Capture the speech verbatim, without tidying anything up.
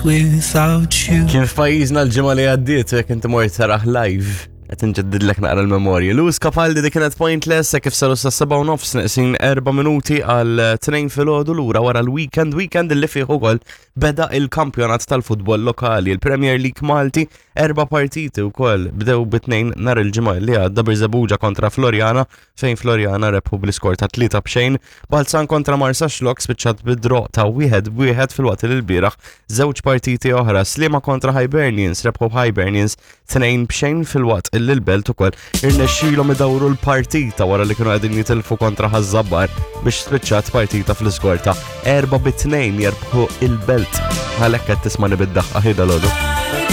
pointless without you. Kien f'pajjiżna l-ġimgħa li għaddiet jekk inti mort taraħ live qed inġeddidlek naqra l-memorji. Lewis Capaldi dik kienet Pointless kif saru sa seba' u nofs neqsin erba' minuti għal tnejn filgħodu lura wara l-weekend, weekend li fih ukoll beda il-kampjonat tal-futbol lokali, il-Premier League Malti, erba' partiti wkoll bdew bit-tnejn nhar il-ġimgħa li għadda Birżebbuġa kontra Floriana fejn Floriana rebħu bl-iskor ta' tlieta b'xejn, Balzan kontra Marsaxlokk spiċċat bid-draw ta' wieħed b'wieħed filwaqt li l-bieraħ żewġ partiti oħra Sliema kontra Hibernians rebħu Hibernians tnejn b'xejn filwaqt illi l-Belt ukoll irnexxielhom idawru l-partita wara li kienu qegħdin jitilfu kontra Ħaż-Żabbar biex spiċċat partita fl-iskor ta' erba' bi tnejn jerbħu il-Belt. Għalhekk qed tisma' nibiddaħqa ħida l